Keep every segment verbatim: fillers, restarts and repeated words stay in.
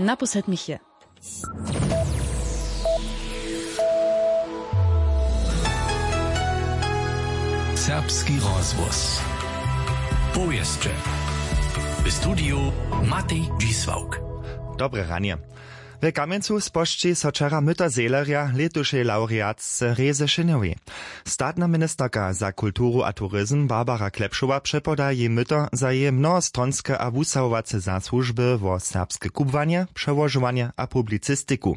Naposled mich je. Serbski rozhłos. Powěsće. W studiju Matej Dźisławk. Dobre ranje. W Kamjencu spožči so wčera myto zehlerja lětušej laureatce Rezy Šenjowej. Statna ministerka za kulturu a turizm Barbara Klepšowa přepoda jej myto za jeje mnohostronske a wusahowace zasłužby wo serbske kubłanje, přełožowanje a publicistiku.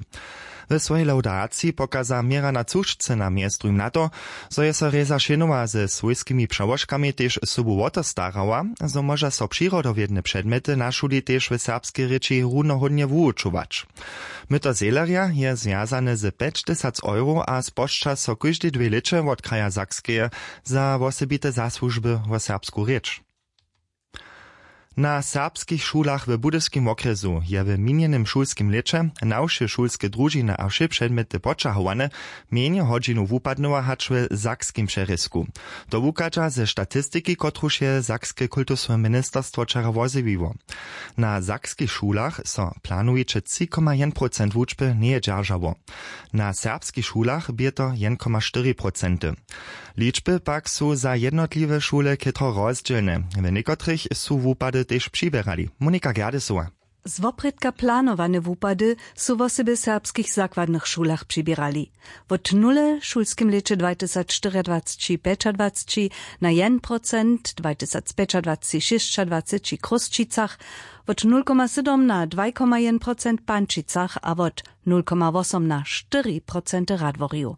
W swojej laudaciji pokaza měra na cušce na mjez druhim na to, zo je so Reza Šenowa ze swójskimi přełožkami tež sobu wo to starała, zo móža so přirodowědne předmjety na šuli tež w serbskej rěči runohódnje wuwučować. Myto zehlerja je zwjazane z pjećtysac euro a spožča so kóždej dwě lěće wot kraja Sakskeje za wosebite zasłužby wo serbsku rěč. Na serbskich šulach w Budyskim wokrjesu je w minjenym šulskim lěće na wše šulske družiny a wše předmjety poćahowane mjenje hodźinow wupadnyła hač w sakskim přerězku. To wuchadźa ze statistiki, kotruž je sakske kultusne ministerstwo wčera wozjewiło. Na sakskich šulach so planujeće tři koma jedyn procent wučby njeje dźeržało. Na serbskich šulach bě to jedyn koma štyri procenty. Ličby pak su za jednotliwe šule chětro rozdźělne. W někotrych su wupady tež přiběrali. Monika Gerdesowa. Z woprědka planowane wupady su wosebje w serbskich zakładnych šulach přiběrali. Wot nule w šulskim lěće dwajtysacštyriadwaceći pjećadwaceći na jedyn procent, dwajtysacpjećadwaceći šěsćadwaceći w Chrósćicach, wot nul koma sydom na dwaj koma jedyn procent w Pančicach a wot nul koma wosom na štyri procenty w Radworju.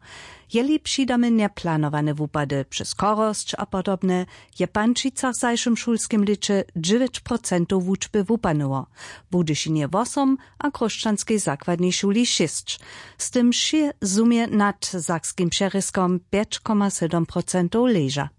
Jeli přidamy njeplanowane wupady přez chorosć a podobne, je w Pančicach w zašłym šulskim lěće dźewjeć procentow wučby wupadnyło, w Budyšinje wosom a w Chrósćanskej zakładnej šuli šěsć. Z tym wšě zhumje nad sakskim přerězkom pjeć koma sydom procentow leža.